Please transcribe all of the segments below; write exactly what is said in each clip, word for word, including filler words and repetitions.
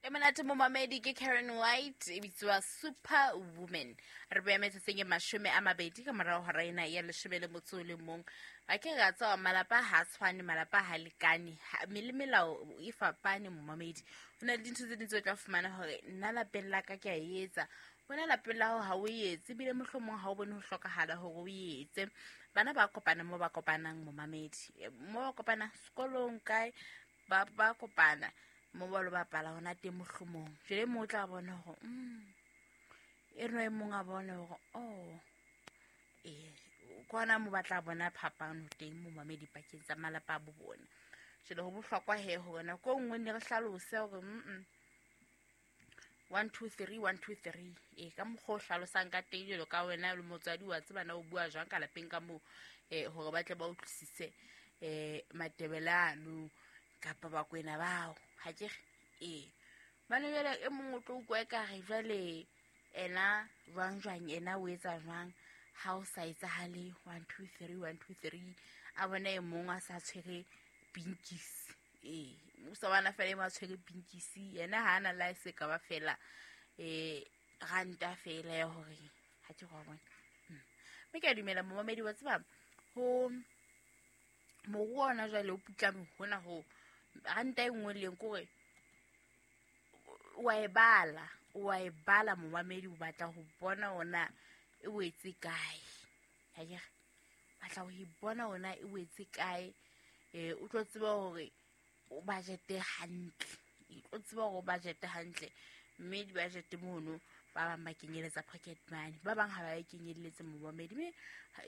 E monate momamedi ke Karen White e bitswa Superwoman. Re beya metsotsong e mashome a mabedi ka morao hora ena ya leshome le motso o le mong. Ba ke ra tswa malapa ha tshwane, malapa ha lekane, mme le melao e fapane momamedi. Ho na le dintho tse ding tseo o tla fumana hore nna lapeng la ka ke a etsa, wena lapeng la hao ha o etse, ebile mohlomong ha o bone ho hlokahala hore o etse. Bana ba kopana mo ba kopanang momamedi, mo ba kopana sekolong kae, ba ba kopana mo ba lo bapala hona teng mohlomong. Jwale mo o tla bona hore mm e re e mong a bone hore oh eh kwana mo batla bona phapano teng momamedi pakeng tsa malapa a bo bona. Jwale ho bohlokwa he hore nako e nngwe ne re hlalose hore mm one two three one two three e ka mokgwa o hlalosang ka teng jwalo ka wena le motswadi wa tseba na o bua jwang ka lapeng ka moo, eh hore ba tle ba utlwisise eh Matebele ano kapa Bakwena bao. Ha ke re ee bana jwale e mong o tlo utlwa ekare jwale ena jwang jwang ena o etsa jwang ha o sa etsahale one two three one two three, a bona e mong a sa tshwere pinkisi. Ee o sa bona fela e mong a tshwere pinkisi, yena ha ana la se ka ba fela eh ranta fela ya hore ha ke go bona. Mme ke a dumela momamedi wa tseba ho moruo ona jwale o putlame hona ho ranta e nngwe le kore wa e bala, wa e bala momamedi, o batla ho bona ona e wetse kae. Ha ke re batla ho e bona ona e wetse kae, eh o tlo tseba hore o budget hantle, o tlo tseba hore o budget hantle. Mme di budget mono ba bang ba kenyeletsa pocket money, ba bang ha ba e kenyelletse momamedi, mme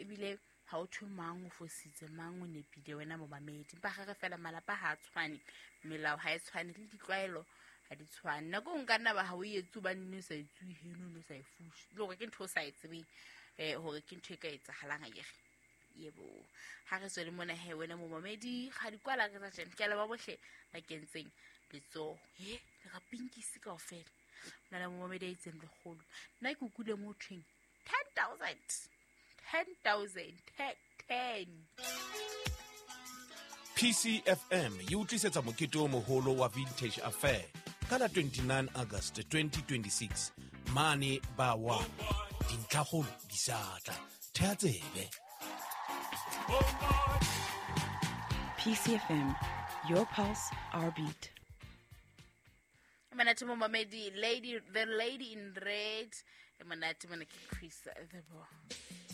ebile ha o thwe mang o fositse mang o nepile wena momamedi. Empa re re fela malapa ha a tshwane, melao ha e tshwane le ditlwaelo ha di tshwane. Nako e nka nna ba ha o etse hobane ne o sa e tswe heno, ne o sa e fushe, le hore ke ntho o sa e tsebeng eh hore ke ntho e ka etsahalang akere. Yebo, ha re tswele mona he wena momamedi, ga di kwala re tsa tjena. Ke a leboha bohle ba kentseng letsoho. He, le ra pinkisi kaofela. Ho na le momamedi a itseng lekgolo. Nna ke utlwile mo ho thweng ten thousand. ten thousand, ten. P C F M e utlisetsa mokete o moholo wa Vintage Affair ka la twenty-nine August twenty twenty-six mane ba wa dintlhakgolo di sa tla. Thea tsebe. P C F M, your pulse, our beat. Monate momamedi, lady, the lady in red. Monate mona ke Chris the Boy.